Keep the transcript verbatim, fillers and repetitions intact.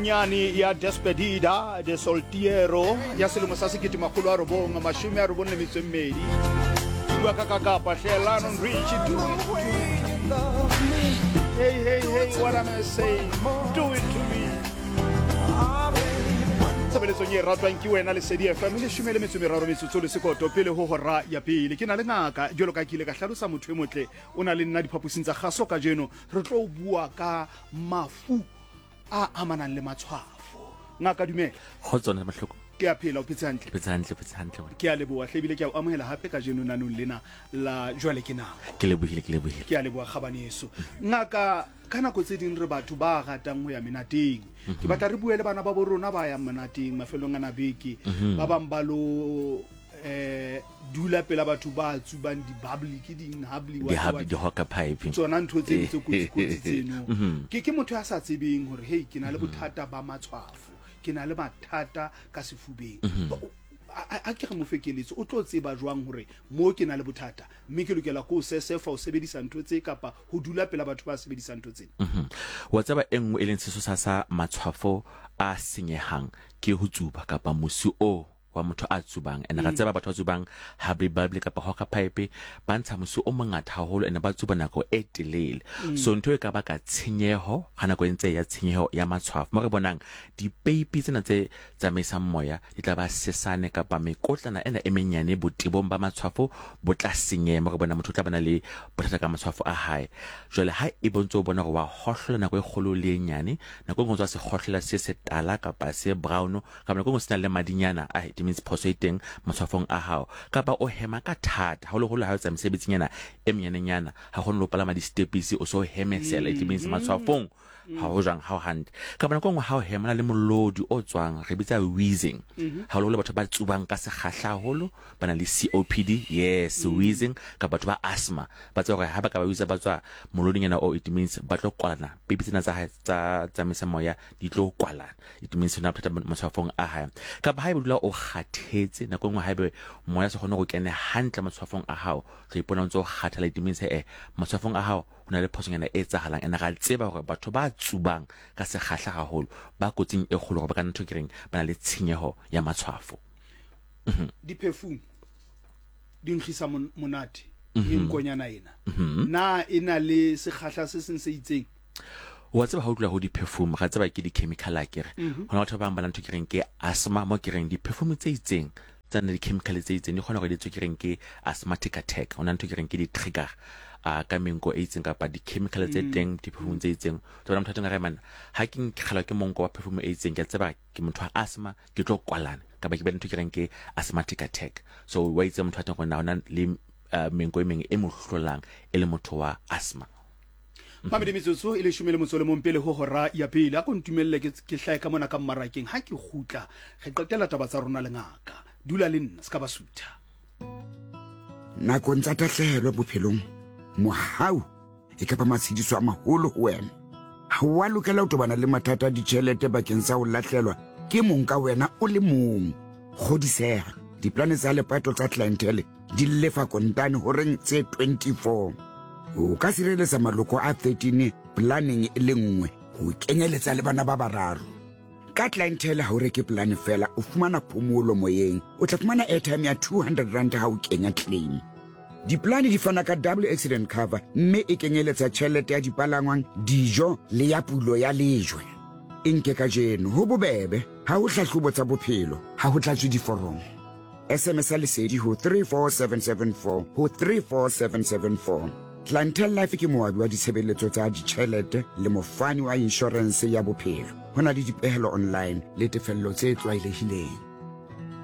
Nyane ya Despedida de Soltero ya selemo sa sekete makgolo a robong mashome a robong le metso e mmedi. Ke bua ka kakapa hle Lionel Richie, do it to me. Hey, hey, hey, what am I saying? Do it to me. Tshebeletsong e ratwang ke wena Lesedi F M, leshome le metso e meraro metsotso le sekoto pele ho hora ya pele. Ke na le ngaka jwalo ka ke ile ka hlalosa motho e motle o na le nna diphaposing tsa kgaso kajeno. Re tlo bua ka mafu a amanang le matshwafo. Ngaka dumela. Kgotso nna Mahloko. Ke a phela, o phetse hantle? Phetse hantle, phetse hantle. Ke a leboha hle, ebile ke a o amohela hape kajeno nanong lena la jwale ke nako. Ke lebohile, ke lebohile. Ke a leboha kgabaneso. Ngaka, ka nako tse ding re batho ba ratang ho ya menateng. Ke batla re bue le bana ba bo rona ba yang menateng mafelong ana beke. Ba bang ba lo eh dula pela batho ba tsubang di-bubbly, ke ding hubbly, what, Di-hubbly, what. di-hookah pipe. Tsona ntho tse tse kotsi kotsi tseno. Ke ke motho ya sa tsebeng hore hey ke na le bothata ba matshwafo, ke na le mathata ka sefubeng. A ke re mo fe keletso, o tlo tseba jwang hore mo ke na le bothata mme ke lokela ko sesefa ho sebedisa ntho tse kapa ho dula pela batho ba sebedisang ntho tsena? Wa tseba e nngwe e leng sesosa sa matshwafo a senyehang ke ho tsuba kapa mosi o wa motho a tsubang. And ra tseba batho ba tsubang hubbly bubbly kapa hookah pipe ba ntsha mosi o mongata haholo and ba tsuba nako e telele. So ntho e ka baka tshenyeho ha nako e ntse ya tshenyeho ya matshwafo. Mo re bonang dipeipi tsena tse tsamaisang moya di tla ba sesane kapa mekotlana ena e menyane botebong ba matshwafo bo tla senyeha. Mo re bona motho o tla bana le bothata ka matshwafo a hae. Jwale ha e bontse o bona hore wa hohlola nako e kgolo le e nyane, nako e nngwe o tswa se hohlola se setala kapa se brown, kapa nako e nngwe se na le madinyana a it means phoso e teng matshwafong a hao, kapa o hema ka thata haholoholo ha o etsa mesebetsi-nyana e menyanenyana, ha kgone le ho palama di-stepisi o so hemesela, it means matshwafong ha ho jwang, ha ho hantle. Kapa nako e nngwe ha o hema na le molodi o tswang, re bitsa wheezing. Haholoholo batho ba tsubang ka sekgahla haholo ba na le C O P D, yes, wheezing, kapa batho ba asthma ba tseba hore ha ba ka ba wheeze ba tswa molodinyana o, it means ba tlo kwalana, peipi tsena tsa hae tsa tsamaisa moya di tlo kwalana, it means ho na bothata matshwafong a hae. Kapa ha ebe dula o kgathetse, nako e nngwe ha ebe moya se kgone ho kene hantle matshwafong a hao, tlo ipona o ntse o kgathala, it means eh matshwafong a hao ho na le phosonyana e etsahalang. And ra tseba hore batho ba tsubang ka sekgahla haholo ba kotsing e kgolo hore ba ka ntho ke reng ba na le tshenyeho ya matshwafo. Di-perfume di nkgisa monate, menkonyana ena na e na le sekgahla se seng se itseng? Wa tseba ha o tloha ho di-perfume, ra tseba ke di-chemical akere. Ho na batho ba bang ba na ntho ke reng ke asthma, mo ke reng di-perfume tse itseng tsa na di-chemical tse itseng di kgona hore di tswe ke reng ke asthmatic attack. Ho na ntho ke reng ke di-trigger a ka menko e itseng kapa di-chemical tse teng di-perfume tse itseng. Tsona motho a teng a re man ha ke nkgelwa ke monko wa perfume e itseng, ke a tseba ke motho wa asthma, ke tlo kwalana kapa ke be ntho ke reng ke asthmatic attack. So wa itse motho a teng hore na hona le menko e meng e mo hlolang e le motho wa asthma. Mamedi metsotso e leshome le motso le mong pele ho hora ya pele. A ko ntumelle ke ke hlahe ka mona ka mmarakeng. Ha ke kgutla re qetela taba tsa rona le ngaka. Dula le nna se ka ba sutha. Nakong tsa tahlehelo bophelong, mohau e ka ba matshediso a maholo ho wena. Ha wa lokela ho tobana le mathata a ditjhelete bakeng sa ho lahlelwa ke mong ka wena o le mong. Kgodiseha, diplane tsa lepato tsa clientele di lefa kontane horeng tse twenty-four. O ka sireletsa maloko a thirteen planeng e le nngwe ho kenyeletsa le bana ba bararo. Ka clientele ha o reke plane fela, o fumana phomolo moyeng. O tla fumana airtime ya two hundred rand ha o kenya claim. Diplane di fana ka double accident cover mme e kenyeletsa tjhelete ya dipalangwang, dijo le ya pulo ya lejwe. E nke kajeno ho bobebe, ha ho hlahlobo tsa bophelo, ha ho tlatswe diforomo. S M S ya Lesedi ho three four seven seven four ho three four seven seven four. Clientele Life ke moabi wa ditshebeletso tsa ditjhelete le mofani wa inshorense ya bophelo. Ho na le dipehelo online le tefello tse tlwaelehileng.